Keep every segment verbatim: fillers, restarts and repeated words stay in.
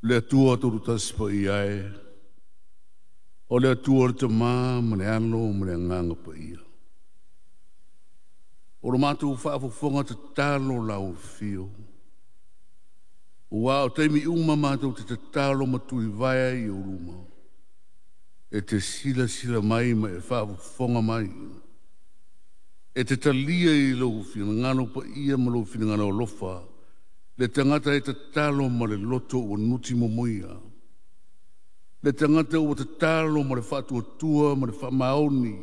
Le Atua tolu tasi paia e, o le Atua o le Tamā ma le Alo ma le Agaga Paia. O lo matou faafofoga tatalo lau afio. Ua o taimi uma matou te tatalo ma tulivae ai i ou luma. E te silasila mai ma e faafofoga mai. E te talia i lou finagalo paia ma lou finagalo alofa le tagata e tatalo ma le loto ua nuti momoia. Le tagata ua tatalo ma le faatuatua ma le faamaoni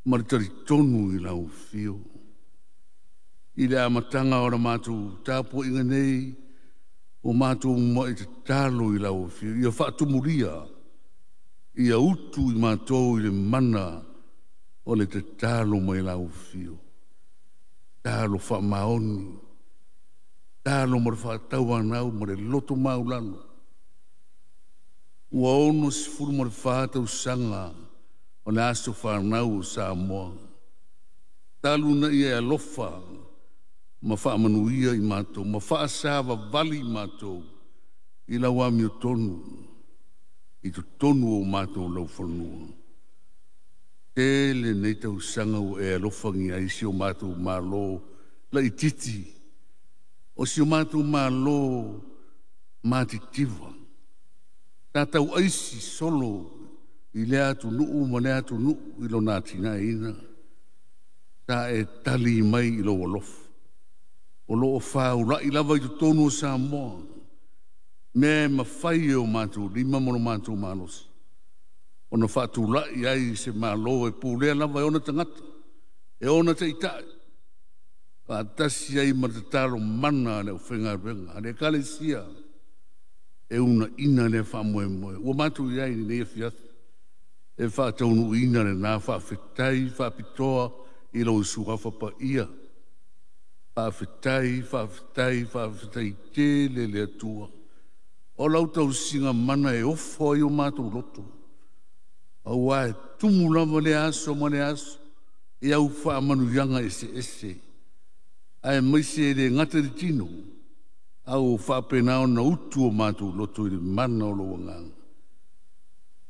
ma le talitonu i lau afio. I le amataga o la matou tapuaiga nei, o matou mai tatalo i lau afio, ia faatumulia, ia utu i matou i le mana o le tatalo mai lau afio. Talo faamaoni, talo ma le faatauanau ma le loto maulalo. Ua ono sefulu ma le fa tausaga o le aso fanau o Samoa. Talu na ia e alofa ma faamanuia i matou, ma faasavavali i matou i lau amiotonu, i totonu o matou laufanua. Tele nei tausaga ua e alofagia ai si o matou Malo laitiiti, o si o matou Malo matitiva. Sa tauaisi solo i lea atunuu ma lea atunuu i lona atinaeina. Sa e tali mai i lou alofa. O loo faulai lava i totonu o Samoa, mea e mafai e o matou lima ma lo matou malosi ona faatulai ai se Malo e pulea lava e ona tagata, e ona taitai, faatasi ai ma le tatalo mana a le aufaigaluega a le Ekalesia e uunaina lea faamoemoe. Ua matou i ai i lenei afiafi e faataunuuina lena faafetai faapitoa i lou suafa paia. Faafetai, faafetai, faafetai tele le Atua. O lau tausiga mana e ofo ai o matou loto. Aua e tumu lava le aso ma le aso i au faamanuiaga eseese. Aemaise e le gata i le tino, a ua faapena ona utu o matou loto i le mana o lou agaga.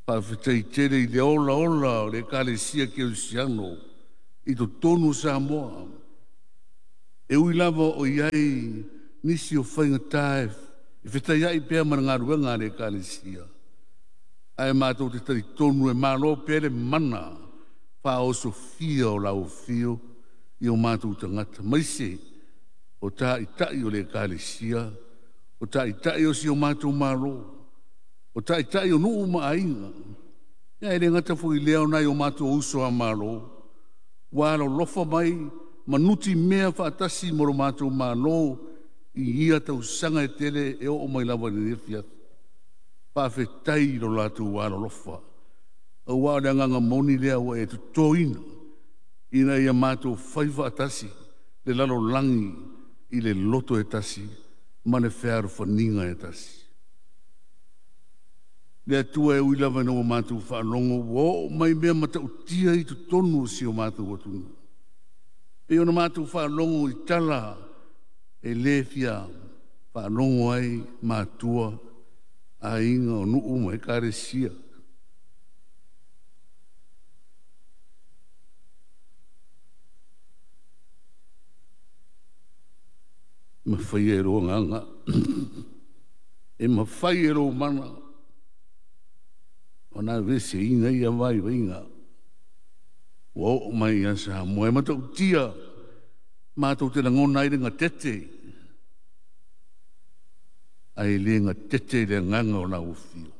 Faafetai tele i le ola ola o le Ekalesia Kerisiano i totonu o Samoa. E ui lava o i ai nisi o faigata e fetaiai pea ma le galuega a le Ekalesia, ae matou te talitonu e malo pea le mana faaosofia o lau afio i o matou tagata, maise o taitai o le Ekalesia, o taitai o si o matou Malo, o taitai o nuu ma aiga. Ia e le gata foi i lea o nai o matou uso a Malo, ua alolofa mai ma nutimea faatasi ma lo matou Malo i ia tausaga e tele e oo mai lava i lenei afiafi. Faafetai i lo latou alolofa. Aua o le agaga moni lea ua e totoina ina ia matou fai faatasi le lalolagi i le loto e tasi ma le fealofaniga e tasi. Le Atua e ui lava ina ua matou faalogo ua oo mai mea matautia i totonu o si o matou atunuu. Pei ona matou faalogo i tala e le fia faalogo ai matua, aiga o nuu ma ekalesia. Mafai e lou agaga, e mafai e lou mana ona aveeseina ia vaivaiga ua oo mai ia Samoa. E matautia matou te lagona ai le gatete, ae le gatete i le agaga o lau afio.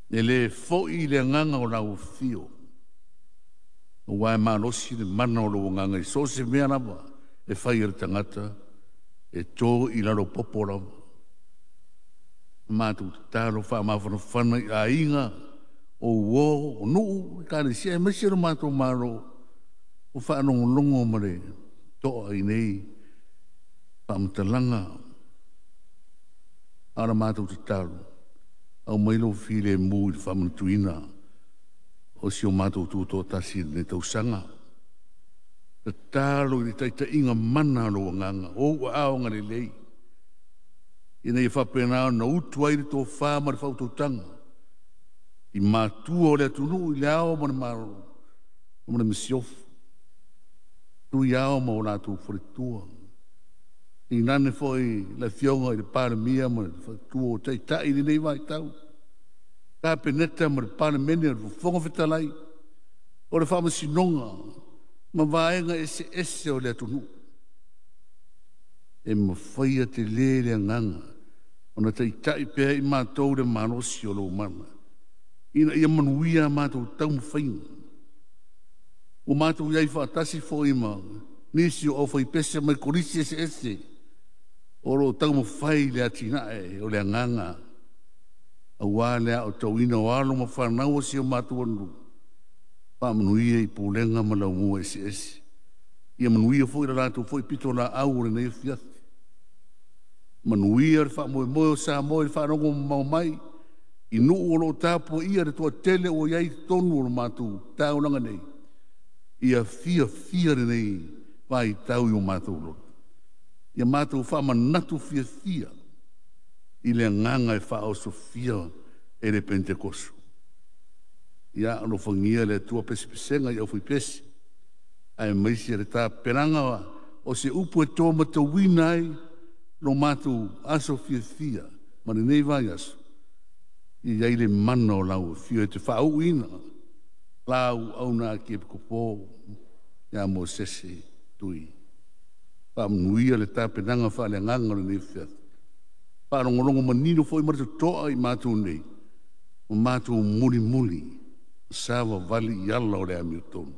E le foi i le agaga o lau afio, aua e malosi le mana o lou agaga i so o se mea lava e fai e le tagata, e to i lalo popo lava. Matou tatalo faamafanafana i aiga, o uo, o nuu, ekalesia, aemaise lo matou Malo o faalogologo ma le to'a i nei faamatalaga. A o la matou tatalo, aumai lou filemu i le faamanatuina o si o matou tutoatasi i lenei tausaga. Tatalo i le taitaiga mana o lou agaga, o ou aao agalelei, Ina ia faapena ona utu ai le tofa ma le faautautaga i matua o le atunuu i le ao ma le Malo ma le masiofo, tui ao ma o latou faletua. Inane foi le afioga i le Palemia ma le faletua o taitai i lenei vaitau, Kapeneta ma le Palemene o le Fofoga Fetalai, o le Faamasinoga ma vaega eseese o le atunuu. E mafaia tele le agaga ona taitai pea i matou le malosi o lou mana, ina ia manuia a matou taumafaiga. Ua matou i ai faatasi foi ma nisi o aufaipese mai kolisi eseese o lo o taumafai le atinae o le agaga aua le aotauina o alo ma fanau o si o matou atunuu, faamanuia i pulega ma laumua eseese. Ia manuia foi le latou foi pitolaau o lenei afiafi. Manuia le faamoemoe o Samoa i le faalogo mamao mai i nuu o lo o tapuaia le toatele ua i ai i totonu o le matou taulaga nei, ia fiafia lenei vaitau i o matou loto. Ia matou faamanatu fiafia i le agaga e faaosofia e le Penetekoso. Ia alofagia le Atua pesepesega i aufaipese, aemaise le tapenaga o se upu e to matauina ai lo matou aso fiafia ma lenei vaiaso, ia i ai le mana o lau afio e te faauuina lau auna Akiepikopo ia Mosese Tui. Faamanuia le tapenaga faaleagaga o lenei afiafi. Faalogologo manino foi ma le totoa i matou nei, ma matou mulimuli savavali i ala o le amiotonu.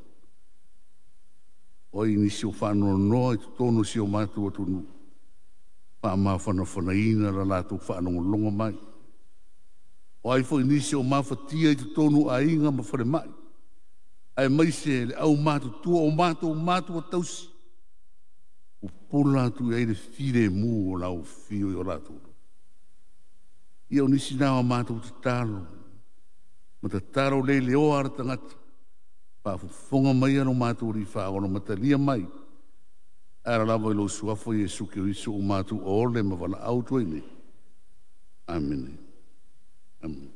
O ai nisi o faanoanoa i totonu o si o matou atunuu, faamafanafanaina la latou faalogologo mai. O ai foi nisi o mafatia i totonu o aiga ma falemai, aemaise le aumatutua o matou matua tausi, pupula atu i ai le filemu o lau afio i o latou. Ia o nisi na o matou tatalo, ma tatalo le leoa a le tagata, faafofoga mai lo matou Alii Faaola ma talia mai, e ala lava i lou suafa Iesu Keriso o matou ole ma valaau atu ai nei. Amene. Amene.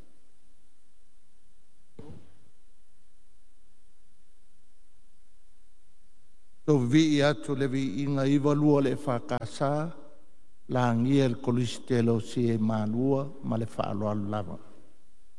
Tau atu le viiga iva lua le E F K S, lagia le Kolisi Teolosia i Malua ma le faaaloalo lava.